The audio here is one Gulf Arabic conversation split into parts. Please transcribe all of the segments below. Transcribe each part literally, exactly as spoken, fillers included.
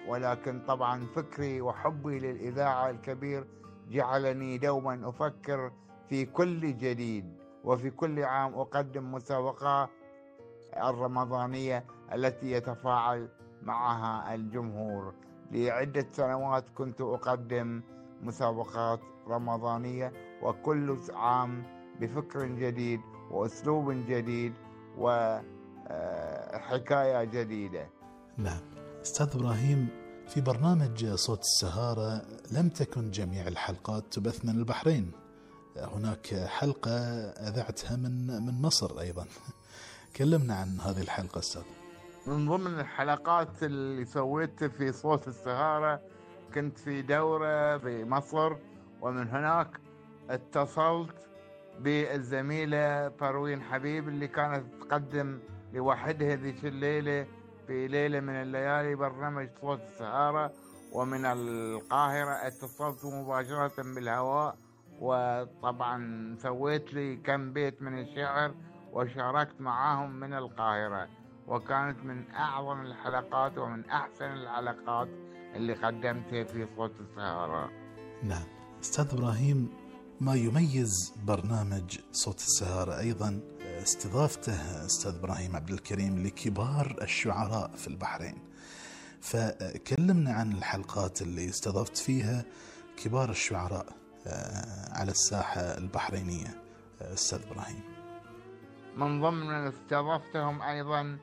ولكن طبعا فكري وحبي للإذاعة الكبير جعلني دوما أفكر في كل جديد، وفي كل عام أقدم مسابقة الرمضانية التي يتفاعل معها الجمهور. لعدة سنوات كنت أقدم مسابقات رمضانية، وكل عام بفكر جديد وأسلوب جديد وحكاية جديدة. نعم أستاذ إبراهيم، في برنامج صوت السهارة لم تكن جميع الحلقات تبث من البحرين، هناك حلقة أذعتها من من مصر أيضا. كلمنا عن هذه الحلقة أستاذ. من ضمن الحلقات اللي سويتها في صوت السهارة كنت في دورة بمصر، ومن هناك اتصلت بالزميلة بروين حبيب اللي كانت تقدم لوحدها ذيك الليلة في ليلة من الليالي برنامج صوت السهارة. ومن القاهرة اتصلت مباشرة بالهواء، وطبعا سويت لي كم بيت من الشعر وشاركت معاهم من القاهرة، وكانت من أعظم الحلقات ومن أحسن الحلقات اللي قدمتها في صوت السهارة. نعم أستاذ إبراهيم، ما يميز برنامج صوت السهارة أيضا استضافته أستاذ إبراهيم عبد الكريم لكبار الشعراء في البحرين، فكلمنا عن الحلقات اللي استضفت فيها كبار الشعراء على الساحة البحرينية أستاذ إبراهيم. من ضمن استضفتهم أيضا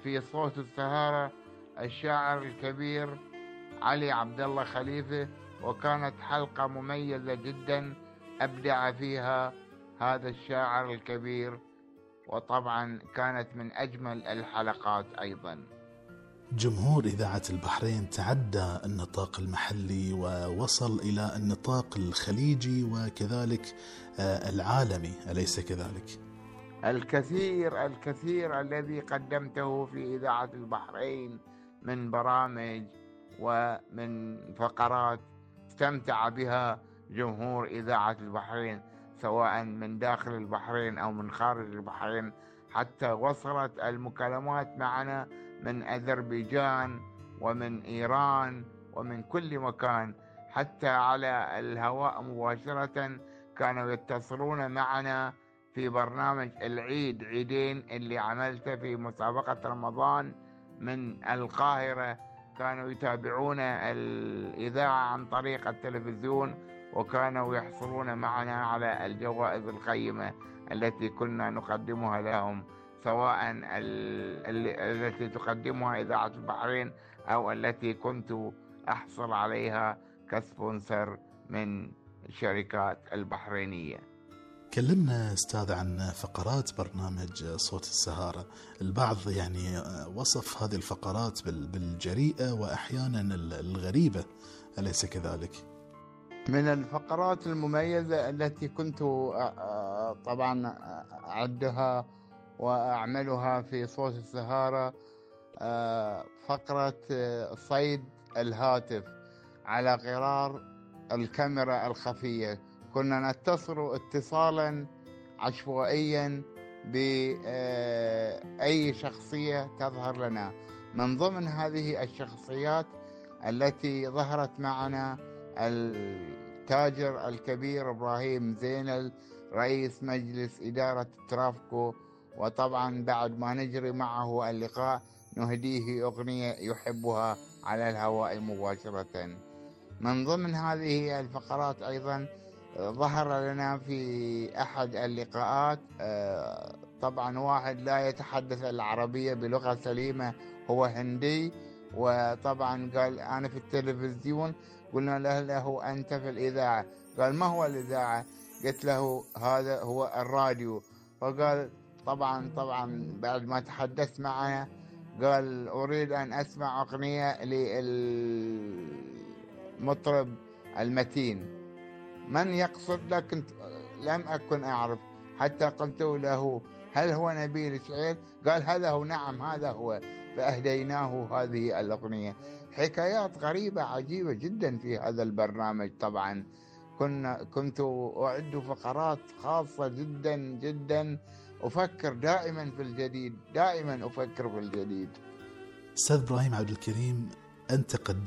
في صوت السهارة الشاعر الكبير علي عبد الله خليفة، وكانت حلقة مميزة جدا أبدع فيها هذا الشاعر الكبير، وطبعا كانت من أجمل الحلقات أيضا. جمهور إذاعة البحرين تعدى النطاق المحلي ووصل إلى النطاق الخليجي وكذلك العالمي، أليس كذلك؟ الكثير الكثير الذي قدمته في إذاعة البحرين من برامج ومن فقرات استمتع بها جمهور إذاعة البحرين، سواء من داخل البحرين أو من خارج البحرين، حتى وصلت المكالمات معنا من أذربيجان ومن إيران ومن كل مكان، حتى على الهواء مباشرة كانوا يتصلون معنا في برنامج العيد عيدين اللي عملته في مسابقة رمضان من القاهرة. كانوا يتابعون الإذاعة عن طريق التلفزيون، وكانوا يحصلون معنا على الجوائز القيمة التي كنا نقدمها لهم، سواء التي تقدمها إذاعة البحرين أو التي كنت أحصل عليها كسبونسر من الشركات البحرينية. كلمنا أستاذ عن فقرات برنامج صوت السهارة. البعض يعني وصف هذه الفقرات بالجريئة وأحيانا الغريبة، أليس كذلك؟ من الفقرات المميزة التي كنت طبعا أعدها وأعملها في صوت السهارة فقرة صيد الهاتف على غرار الكاميرا الخفية. كنا نتصل اتصالا عشوائيا بأي شخصية تظهر لنا. من ضمن هذه الشخصيات التي ظهرت معنا التاجر الكبير إبراهيم زينل، رئيس مجلس إدارة ترافكو، وطبعا بعد ما نجري معه اللقاء نهديه أغنية يحبها على الهواء مباشرة. من ضمن هذه الفقرات أيضا ظهر لنا في أحد اللقاءات طبعا واحد لا يتحدث العربية بلغة سليمة، هو هندي، وطبعا قال أنا في التلفزيون. قلنا له, له أنت في الإذاعة. قال ما هو الإذاعة؟ قلت له هذا هو الراديو. فقال طبعا طبعا بعد ما تحدث معنا قال أريد أن أسمع أغنية للمطرب المتين. من يقصد لك؟ كنت لم أكن أعرف، حتى قلت له هل هو نبيل شعير؟ قال هذا هو. نعم هذا هو. فأهديناه هذه الأغنية. حكايات غريبة عجيبة جدا في هذا البرنامج. طبعا كنا كنت أعد فقرات خاصة جدا جدا. أفكر دائما في الجديد، دائما أفكر في الجديد. أستاذ إبراهيم عبد الكريم، أنت قد